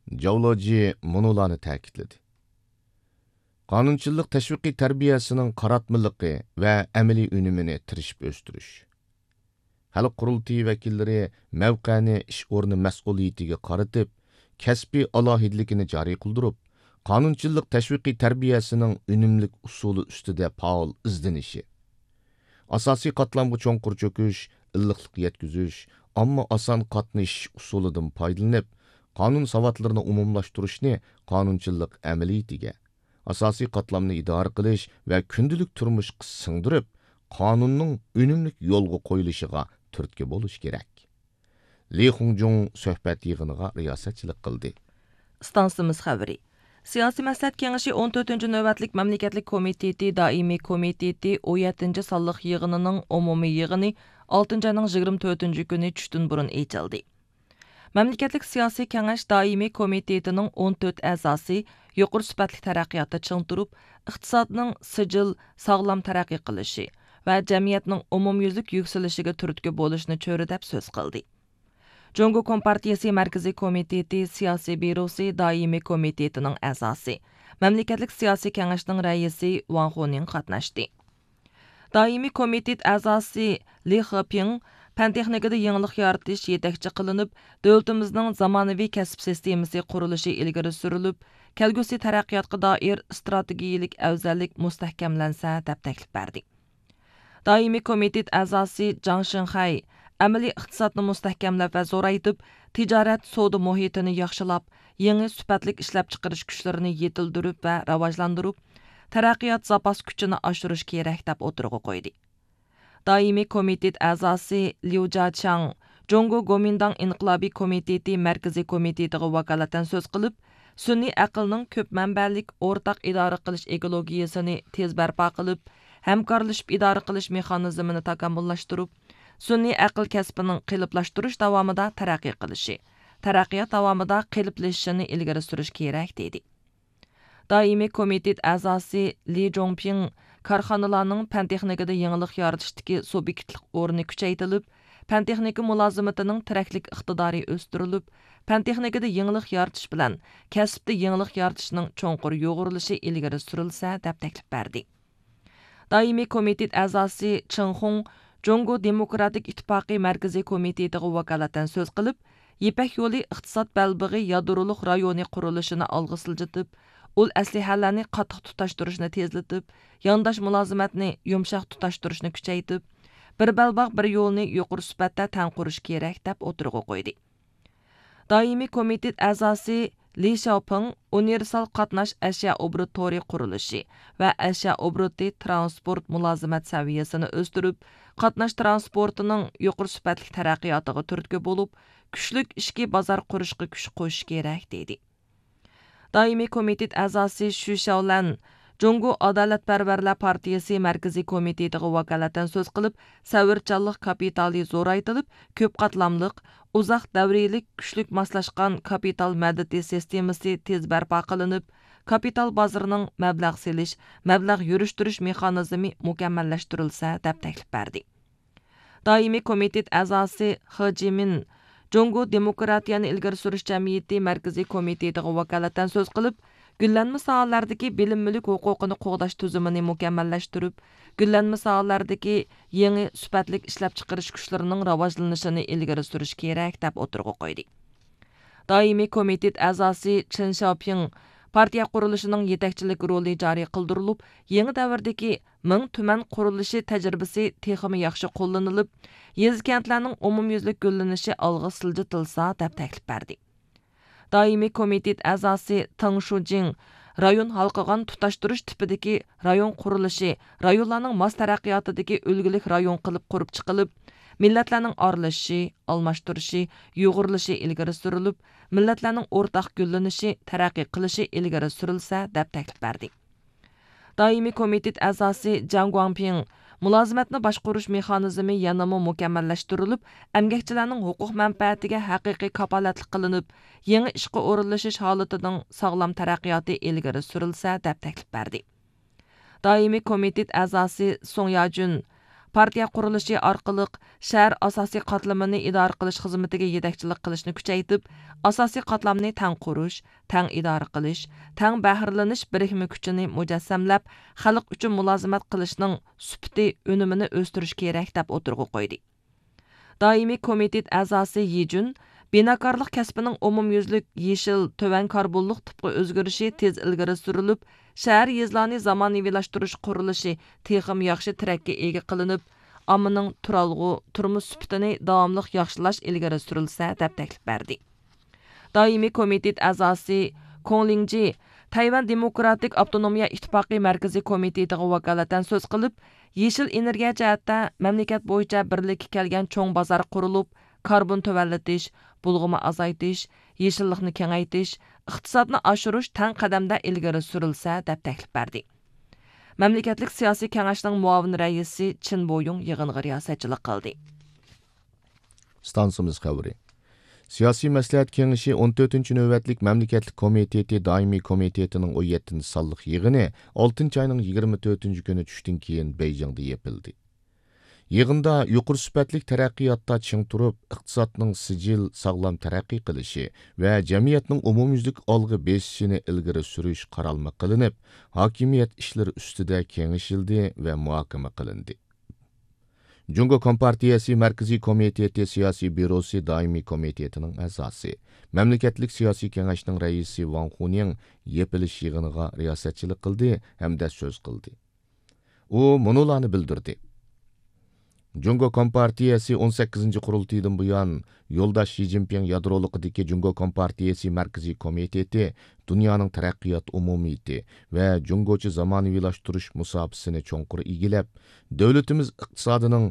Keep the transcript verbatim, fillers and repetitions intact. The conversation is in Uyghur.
جاۋلوجى مۇنۇلارنى تەكىتلىدى: قانۇنچىللىق تەشۋىقىي تەربىيەسىنىڭ قاراتمىلىقى ۋە ئەمەلىي ئۈنۈمىنى تىرىشىپ ئۆستۈرۈش. خەلق قۇرۇلتىيى ۋەكىللىرى مەۋقەنى ئىش ئورنى مەسئۇلىيىتىگە قارىتىپ، كەسپىي ئالاھىدىلىكىنى جارى قىلدۇرۇپ، قانۇنچىللىق تەشۋىقىي تەربىيەسىنىڭ ئۈنۈملۈك ئۇسۇلى ئۈستىدە پائال ئىزدىنىشى، ئاساسىي قاتلامغا چوڭقۇر چۆكۈش، ئىللىقلىق يەتكۈزۈش، ئامما ئاسان قاتنىشىش ئۇسۇلىدىن پايدىلىنىپ، قانۇن ساۋاتلىرىنى ئومۇملاشتۇرۇشنى قانۇنچىللىق ئەمەلىيىتىگە، ئاساسىي قاتلامنى ئىدارە قىلىش ۋە كۈندىلىك تۇرمۇشقا سىڭدۈرۈپ، قانۇننىڭ ئۈنۈملۈك يولغا قويۇلۇشىغا تۈرتكە بولۇش كېرەك. لى خۇڭجۇڭ سۆھبەت يىغىنىغا رىياسەتچىلىك قىلدى. ئىستانسىمىز خەۋىرى. سىياسىي مەسلىھەت كېڭىشى ئون تۆتىنچى نۆۋەتلىك مەملىكەتلىك كومىتېتى دائىمىي كومىتېتى ئون يەتتىنچى سانلىق يىغىنىنىڭ ئومۇمىي يىغىنى ئالتىنچى ئاينىڭ يىگىرمە تۆتىنچى كۈنى چۈشتىن بۇرۇن ئېچىلدى. مەملىكەتلىك سىياسىي كېڭەش دائىمىي كومىتېتىنىڭ ئون تۆت ئەزاسى يۇقىرى سۈپەتلىك تەرەققىياتتا چىڭ تۇرۇپ، ئىقتىسادنىڭ سىجىل، ساغلام تەرەققىي قىلىشى ۋە جەمئىيەتنىڭ ئومۇميۈزلۈك يۈكسىلىشىگە تۈرتكە بولۇشنى چۆرىدەپ سۆز قىلدى. جۇڭگو كومپارتىيىسى مەركىزىي كومىتېتى سىياسىي بيۇروسى دائىمىي كومىتېتىنىڭ ئەزاسى، مەملىكەتلىك سىياسىي كېڭەشنىڭ رەئىسى ۋاڭ خۇنىڭ قاتناشتى. دائىمىي كومىتېت ئەزاسى لى خېپىڭ پەن تېخنىكىدا يېڭىلىق يارىتىش يېتەكچى قىلىنىپ، دۆلىتىمىزنىڭ زامانىۋى كەسىپ سىستېمىسى قۇرۇلۇشى ئىلگىرى سۈرۈلۈپ، كەلگۈسى تەرەققىياتقا دائىر ئىستراتېگىيىلىك ئەۋزەللىك مۇستەھكەملەنسە، دەپ تەكلىپ بەردى. دائىمىي كومىتېت ئەزاسى جاڭ شىڭخەي ئەمەلىي ئىقتىسادنى مۇستەھكەملەپ ۋە زورايتىپ، تىجارەت، سودا مۇھىتىنى ياخشىلاپ، يېڭى سۈپەتلىك ئىشلەپچىقىرىش كۈچلىرىنى يېتىلدۈرۈپ ۋە راۋاجلاندۇرۇپ، تەرەققىيات زاپاس كۈچىنى ئاشۇرۇش كېرەك، دەپ ئوتتۇرىغا قويدى. دائىمىي كومىتېت ئەزاسى ليۇ جياچياڭ جۇڭگو گومىنداڭ ئىنقىلابىي كومىتېتى مەركىزىي كومىتېتىغا ۋاكالىتەن سۆز قىلىپ، سۈنئىي ئەقىلنىڭ كۆپ مەنبەلىك ئورتاق ئىدارە قىلىش ئېكولوگىيىسىنى تېز بەرپا قىلىپ، ھەمكارلىشىپ ئىدارە قىلىش مېخانىزمىنى تاكامۇللاشتۇرۇپ، سۈنئىي ئەقىل كەسپىنىڭ قېلىپلاشتۇرۇش داۋامىدا تەرەققىي قىلىشى، تەرەققىيات داۋامىدا قېلىپلىشىشىنى ئىلگىرى سۈرۈش كېرەك، دېدى. دائىمىي كومىتېت ئەزاسى لى جۇڭپىڭ كارخانىلارنىڭ پەن تېخنىكىدا يېڭىلىق يارىتىشتىكى سۇبيېكتلىق ئورنى كۈچەيتىلىپ، پەن تېخنىكا مۇلازىمىتىنىڭ تىرەكلىك ئىقتىدارى ئۆستۈرۈلۈپ، پەن تېخنىكىدا يېڭىلىق يارىتىش بىلەن كەسىپتە يېڭىلىق يارىتىشنىڭ چوڭقۇر يۇغۇرۇلۇشى ئىلگىرى سۈرۈلسە، دەپ تەكلىپ بەردى. دائىمىي كومىتېت ئەزاسى چېڭ خۇڭ جۇڭگو دېموكراتىك ئىتتىپاقى مەركىزىي كومىتېتىغا ۋاكالىتەن سۆز قىلىپ، يىپەك يولى ئىقتىساد بەلبېغى يادرولۇق رايونى قۇرۇلۇشىنى ئالغا سىلجىتىپ، ئۇل ئەسلىھەلەرنى قاتتىق تۇتاشتۇرۇشنى تېزلىتىپ، يانداش مۇلازىمەتنى يۇمشاق تۇتاشتۇرۇشنى كۈچەيتىپ، بىر بەلباغ، بىر يولنى يۇقىرى سۈپەتتە تەڭ قۇرۇش كېرەك، دەپ ئوتتۇرىغا قويدى. دائىمىي كومىتېت ئەزاسى لى شياۋپىڭ ئۇنىۋېرسال قاتناش ئەشيا ئوبوروت تورى قۇرۇلۇشى ۋە ئەشيا ئوبوروتى تىرانسپورت مۇلازىمەت سەۋىيەسىنى ئۆستۈرۈپ، قاتناش تىرانسپورتىنىڭ يۇقىرى سۈپەتلىك تەرەققىياتىغا تۈرتكە بولۇپ، كۈچلۈك ئىچكى بازار قۇرۇشقا كۈچ قوشۇش كېرەك، دېدى. دائىمىي كومىتېت ئەزاسى شۈ شياۋلەن جۇڭگو ئادالەتپەرۋەرلەر پارتىيىسى مەركىزىي كومىتېتىغا ۋاكالىتەن سۆز قىلىپ، سەۋرچانلىق كاپىتالى زورايتىلىپ، كۆپ قاتلاملىق، ئۇزاق دەۋرىيلىك، كۈچلۈك ماسلاشقان كاپىتال مەدىتى سىستېمىسى تېز بەرپا قىلىنىپ، كاپىتال بازىرىنىڭ مەبلەغ سېلىش، مەبلەغ يۈرۈشتۈرۈش مېخانىزمى مۇكەممەللەشتۈرۈلسە، دەپ تەكلىپ بەردى. دائىمىي كومىتېت ئەزاسى خې جىمىن جۇڭگو دېموكراتىيەنى ئىلگىرى سۈرۈش جەمئىيىتى مەركىزىي كومىتېتىغا ۋاكالىتەن سۆز قىلىپ، گۈللەنمە ساھەلەردىكى بىلىم مۈلۈك ھوقۇقىنى قوغداش تۈزۈمىنى مۇكەممەللەشتۈرۈپ، گۈللەنمە ساھەلەردىكى يېڭى سۈپەتلىك ئىشلەپچىقىرىش كۈچلىرىنىڭ راۋاجلىنىشىنى ئىلگىرى سۈرۈش كېرەك، دەپ ئوتتۇرىغا قويدى. دائىمىي كومىتېت ئەزاسى چېن شياۋپىڭ پارتىيە قۇرۇلۇشىنىڭ يېتەكچىلىك رولى جارى قىلدۇرۇلۇپ، يېڭى دەۋردىكى مىڭ تۈمەن قۇرۇلۇشى تەجرىبىسى تېخىمۇ ياخشى قوللىنىلىپ، يېزا، كەنتلەرنىڭ ئومۇميۈزلۈك گۈللىنىشى ئالغا سىلجىتىلسا، دەپ تەكلىپ بەردى. دائىمىي كومىتېت ئەزاسى تېڭ شۇجىڭ رايون ھالقىغان تۇتاشتۇرۇش تىپىدىكى رايون قۇرۇلۇشى، رايونلارنىڭ ماس تەرەققىياتىدىكى ئۈلگىلىك رايون قىلىپ قۇرۇپ چىقىلىپ، مىللەتلەرنىڭ ئارىلىشىشى، ئالماشتۇرۇشى، يۇغۇرۇلۇشى ئىلگىرى سۈرۈلۈپ، مىللەتلەرنىڭ ئورتاق گۈللىنىشى، تەرەققىي قىلىشى ئىلگىرى سۈرۈلسە، دەپ تەكلىپ بەردى. دائىمىي كومىتېت ئەزاسى جياڭ گۇاڭپىڭ، مۇلازىمەتنى باشقۇرۇش مېخانىزمى يەنىمۇ مۇكەممەللەشتۈرۈلۈپ، ئەمگەكچىلەرنىڭ ھوقۇق مەنپەئەتىگە ھەقىقىي كاپالەتلىك قىلىنىپ، يېڭى ئىشقا ئورۇنلىشىش ھالىتىنىڭ ساغلام تەرەققىياتى ئىلگىرى سۈرۈلسە، دەپ تەكلىپ بەردى. دائىمىي كومىتېت ئەزاسى سۇڭ ياجۈن، پارتىيە قۇرۇلۇشى ئارقىلىق شەھەر ئاساسىي قاتلىمىنى ئىدارە قىلىش خىزمىتىگە يېتەكچىلىك قىلىشنى كۈچەيتىپ، ئاساسىي قاتلامنى تەڭ قۇرۇش، تەڭ ئىدارە قىلىش، تەڭ بەھرىلىنىش بىرىكمە كۈچىنى مۇجەسسەملەپ، خەلق ئۈچۈن مۇلازىمەت قىلىشنىڭ سۈپىتى، ئۈنۈمىنى ئۆستۈرۈش كېرەك، دەپ ئوتتۇرىغا قويدى. دائىمىي كومىتېت ئەزاسى يى جۈن بىناكارلىق كەسپىنىڭ ئومۇميۈزلۈك يېشىل، تۆۋەن كاربونلۇق تىپقا ئۆزگىرىشى تېز ئىلگىرى سۈرۈلۈپ، شەھەر، يېزىلارنى زامانىۋىلاشتۇرۇش قۇرۇلۇشى تېخىمۇ ياخشى تىرەككە ئىگە قىلىنىپ، ئاممىنىڭ تۇرالغۇ، تۇرمۇش سۈپىتىنى داۋاملىق ياخشىلاش ئىلگىرى سۈرۈلسە، دەپ تەكلىپ بەردى. دائىمىي كومىتېت ئەزاسى كوڭ لىڭجى تەيۋەن دېموكراتىك ئاپتونومىيە ئىتتىپاقى مەركىزىي كومىتېتىغا ۋاكالىتەن سۆز قىلىپ، يېشىل ئېنېرگىيە جەھەتتە مەملىكەت بويىچە بىرلىككە كەلگەن چوڭ بازار قۇرۇلۇپ، كاربون تۆۋەنلىتىش، بۇلغىما ئازايتىش، يېشىللىقنى كېڭەيتىش، ئىقتىسادنى ئاشۇرۇش تەڭ قەدەمدە ئىلگىرى سۈرۈلسە، دەپ تەكلىپ بەردى. مەملىكەتلىك سىياسىي كېڭەشنىڭ مۇئاۋىن رەئىسى چىن بويۇڭ يىغىنغا رىياسەتچىلىك قىلدى. ئىستانسىمىز خەۋىرى. سىياسىي مەسلىھەت كېڭىشى ئون تۆتىنچى نۆۋەتلىك مەملىكەتلىك كومىتېتى دائىمىي كومىتېتىنىڭ ئون يەتتىنچى سانلىق يىغىنى ئالتىنچى ئاينىڭ يىگىرمە تۆتىنچى كۈنى چۈشتىن كېيىن بېيجىڭدا يېپىلدى. يىغىندا يۇقىرى سۈپەتلىك تەرەققىياتتا چىڭ تۇرۇپ، ئىقتىسادنىڭ سىجىل، ساغلام تەرەققىي قىلىشى ۋە جەمئىيەتنىڭ ئومۇميۈزلۈك ئالغا بېسىشىنى ئىلگىرى سۈرۈش قارالما قىلىنىپ، ھاكىمىيەت ئىشلىرى ئۈستىدە كېڭىشىلدى ۋە مۇھاكىمە قىلىندى. جۇڭگو كومپارتىيەسى مەركىزىي كومىتېتى سىياسىي بيۇروسى دائىمىي كومىتېتىنىڭ ئەزاسى، مەملىكەتلىك سىياسىي كېڭەشنىڭ رەئىسى ۋاڭ خۇنىڭ يېپىلىش يىغىنىغا رىياسەتچىلىك قىلدى ھەمدە سۆز قىلدى. ئۇ مۇنۇلارنى بىلدۈردى. جۇڭگو كومپارتىيەسى ئون سەككىزىنچى قۇرۇلتىيىدىن بۇيان، يولداش شى جىنپىڭ يادرولۇقىدىكى جۇڭگو كومپارتىيەسى مەركىزىي كومىتېتى دۇنيانىڭ تەرەققىيات ئومۇمىيىتى ۋە جۇڭگوچە زامانىۋىلاشتۇرۇش مۇساپىسىنى چوڭقۇر ئىگىلەپ، دۆلىتىمىز ئىقتىسادىنىڭ